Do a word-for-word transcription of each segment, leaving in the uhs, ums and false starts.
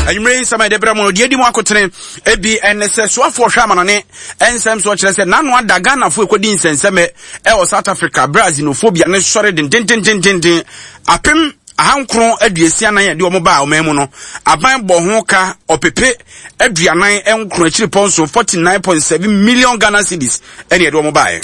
Anwummerɛ yi nsɛm a yɛde brɛ mo no, deɛ edi mu akotene ebi ɛne sɛ soafoɔ hwɛ amanɔne nsɛm so kyerɛ sɛ n'ano ada Ghanafoɔ ekɔdi nsɛnsɛmɛ ɛwɔ South Africa berɛ a xenophobia ne sɔre dendendendenden apem ahankron aduosia nan a ɛde wɔn baa ɔman mu no, aban bɔ ho ka ɔpepe aduanan nkron akyiri pɔnso forty nine point seven million Ghana cedis ɛne ɛde wɔn baeɛ.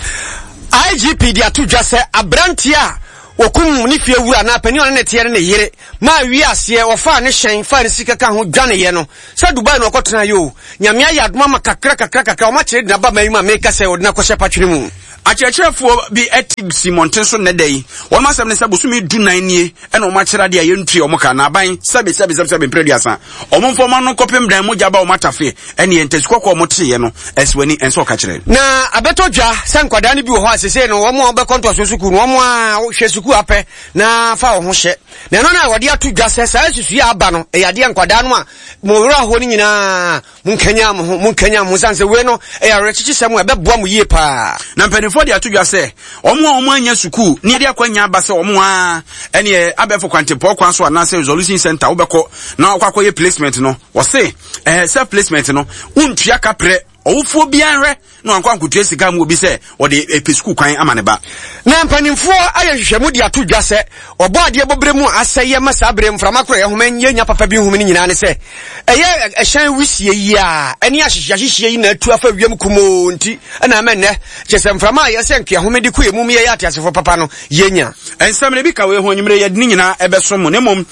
I G P de ato dwa sɛ aberanteɛ a wɔkum ne fie wura na panin a ɔne ne teɛ ne ne yere maa wie aseɛ wɔfaa ne hyɛn faa ne sika ka ho dwaneeɛ no sɛ Dubai na ɔkɔtena yɛ o. Nyame ayɛ adom ama kakra kakra kakra ɔma kyerɛ de naba ma yi mu a meka sɛ ɔde no akɔhyɛ patwene mu. Akyerɛkyerɛfoɔ bi te si mmɔnten so nnɛ da yi. Wɔn asɛm ne sɛ bosome du nan nie ɛna wɔn akyerɛ adeɛ a yɛntua wɔn ka na aban sɛbe sɛbe sɛbe sɛbe mpere aduasa wɔn mfa wɔn ano nkɔpem dan mogya ba wɔn atafe ɛne ntasi kɔkɔɔ wɔn teeɛ no ɛsi w'ani ɛnsɛ ɔka kyerɛ. Na abɛtɔ dwa sɛ nkwadaa no bi wɔ hɔ a sesei no wɔn a wɔbɛkɔ ntoasoɔ sukuu no, wɔn a hwɛ sukuu apɛ na fa wɔn ho hyɛ na ɛno na wɔde ato dwa sɛ saa susue a aba no ɛyɛ adeɛ nkwadaa no a mo werɛ ahoɔ no nyinaa, monkanya mo ho, monkanya mo ho sane sɛ wei no ɛyɛ awerɛkyekyesɛm a ɛbɛboa mo yie paa. Na mpanimfoɔ de ato dwa sɛ wɔn a wɔn anya sukuu ne yɛde akɔnya aba sɛ wɔn a ɛneɛ abɛɛfo kwantempɔn kwan so anaasɛ resolution center wobɛkɔ na wakɔ akɔyɛ placement no, wɔse ɛɛ self placement no wontua kaprɛ. Ɔwofoɔ biara hwɛ na wankɔ ankotua sika mu obi sɛ ɔde ɛpɛ sukuu kwan ama ne ba. Na mpanimfoɔ ayɛ nhwehwɛmu de ato dwa sɛ ɔbɔ adeɛ bɔberɛ mu a asɛeɛ ma saa berɛ mframa korɔ yɛhoma yɛnya papa bi nhome no nyinaa ne sɛ ɛyɛ ɛhyɛn wisie yi a ɛne ahyehyeahyehyeɛ yi na atu afa wiem kumoo, nti ɛna ɛmɛ nnɛ kyɛ sɛ mframa a yɛsɛ nkeahome de kɔ emu mu yɛyɛ ateasefoɔ papa no yɛnya. Nsɛm no bi ka wei ho. Anwummerɛ yɛde ne nyinaa ɛbɛso mo, na mmom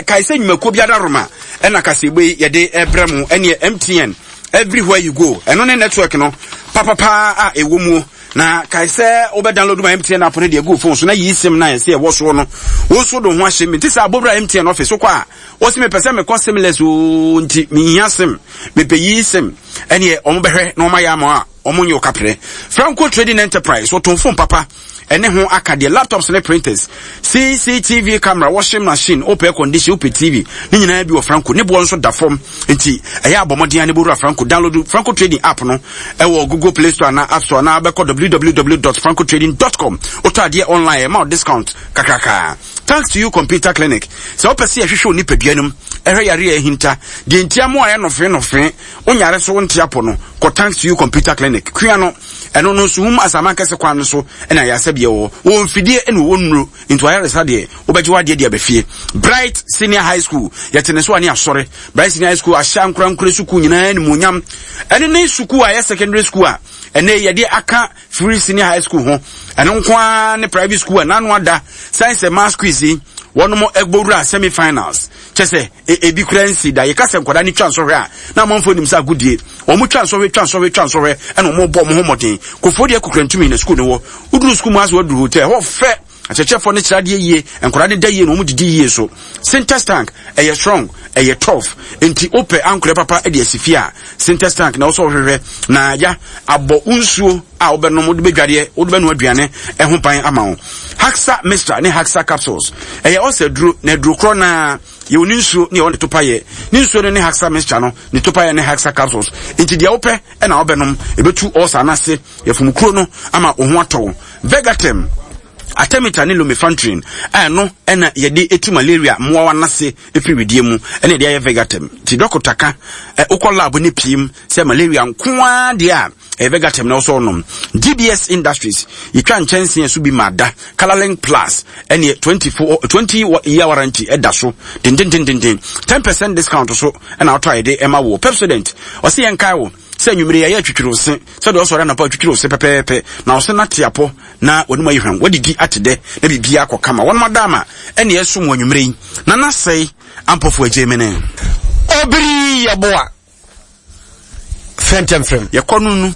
kae sɛ nnwumakuo bi adaroma ɛna kaseɛbɔ yi yɛde ɛbrɛ mo. Ɛneɛ M T N everywhere you go, ɛno ne network no papapaa a ɛwɔ mu. Na kae sɛ wobɛ download ma M T N app no deɛ gu phone so na yi SIM na ɛsɛ ɛwɔ soɔ no, wo nso de ho ahyɛ mi. Nti sɛ abɔwura M T N office wokɔ a, wɔsi mepɛ sɛ mekɔ SIMless oo, nti mehia SIM, mepɛ yi SIM, ɛneɛ ɔmo bɛhwɛ na ɔmo ayɛ ama a ɔmo nyɛ ɔkaprɛ. Franco Trading Enterprise wɔtɔn phone papa ɛne ho aka deɛ, laptops ne printers, C C T V camera, washing machine, wopɛ air condition, wopɛ T V, ne nyinaa bi wɔ Franco. Ne boɔ nso da fam, nti ɛyɛ abɔmmɔden a ne bɔwura Franco. Download Franco Trading app no ɛwɔ Google Play Store na App Store na bɛkɔ w w w dot francotrading dot com. Wotɔ adeɛ online, ɛma wo discount kakraka. Thanks to You Computer Clinic, sɛ wopɛ sɛ yɛhwehwɛ wo nipadua no mu ɛhwɛ yare a ɛhinta deɛ nti amoa a ɛyɛ nɔfee nɔfee wonyare so wonte apɔ no, kɔ Thanks to You Computer Clinic kua no. Ɛno no nso hum asaman kɛse kwan no so ɛna ayasɛbeɛ wɔ wɔ mfidie ɛna wɔwɔ nnuro, nti wayaresa deɛ wobɛgye wadeɛ de aba fie. Bright Senior High School, yɛte ne so a ne asɔre. Bright Senior High School ahyɛ ankorankore sukuu nyinaa animuonyam. Ɛne ne sukuu a ɛyɛ secondary school a ɛnɛ yɛde aka free senior high school ho. Ɛno nko ara ne private school a n'ano ada science and maths quiz yi wɔnom ɛgbɔwura semi finals kyɛ sɛ ebi kura nsi da. Yɛka sɛ nkwadaa ne twa nsɔhwɛ a na amanfoɔ nim sɛ agodie wɔn twa nsɔhwɛ, twa nsɔhwɛ, twa nsɔhwɛ, ɛna wɔn bɔ wɔn ho mmɔden. Kofoɔ deɛ kukura ntumi na sukuu ne wɔ woduru sukuu mu ase, waduru hotel hɔ fɛ, akyerɛkyerɛfoɔ no kyerɛ adeɛ yie, nkwadaa no da yie na wɔn didi yie so. Sintex tank ɛyɛ strong, ɛyɛ tough, nti wopɛ ankorɛ papa de asi fie a, Sintex tank na wɔsɔ hwehwɛ na ya abɔ nsuo a wobɛnom, wode bɛdwadeɛ, wode bɛnoa aduane ɛho ban ama wo. Haxa Mixture ne Haxa Capsules ɛyɛ ɔsɛ duro na aduro korɔ naa. Yɛwɔ ne nsuo ne yɛwɔ ne topayɛ. Ne nsuo no ne Haxa Mixture no ne topayɛ ne Haxa Capsules, nti deɛ wopɛ ɛna wobɛnom ɛbɛtu ɔsa n'ase yɛfom kuro no ama wo ho atɔ wo. Vegatem, artemether ne lumefantrine a ɛno ɛna yɛde etu malaria mmoawa n'ase efiri widie mu ɛna yɛde ayɛ Vegatem. Ti dɔkota ka ɛ wokɔ lab ne piem sɛ malaria nkoa deɛ a, ɛyɛ Vegatem na ɔsɔ nom. G B S Industries yɛtwa nkyɛnsee so bi ma da Colorlink Plus ɛne twenty-four twenty year warranty ɛda so dendendendenden, ten percent discount so ɛna ɔtɔ a yɛde ɛma wɔ. Pepsodent ɔsi yɛn kae wo sɛ nwumire yɛyɛ twitwiri wo se sɛdeɛ ɔsɔre anapa twitwiri wo se pɛpɛɛpɛ na ɔse nate apɔ na wɔnum ayi hwam wadidi ate dɛ na biribiara akɔ kama. Wɔn ada ama ɛne ɛsom wɔ nwumire yi na nasɛe ampɔfo agye mene. Obiri yɛboa fɛntɛmfrɛm. Yɛkɔ no nu.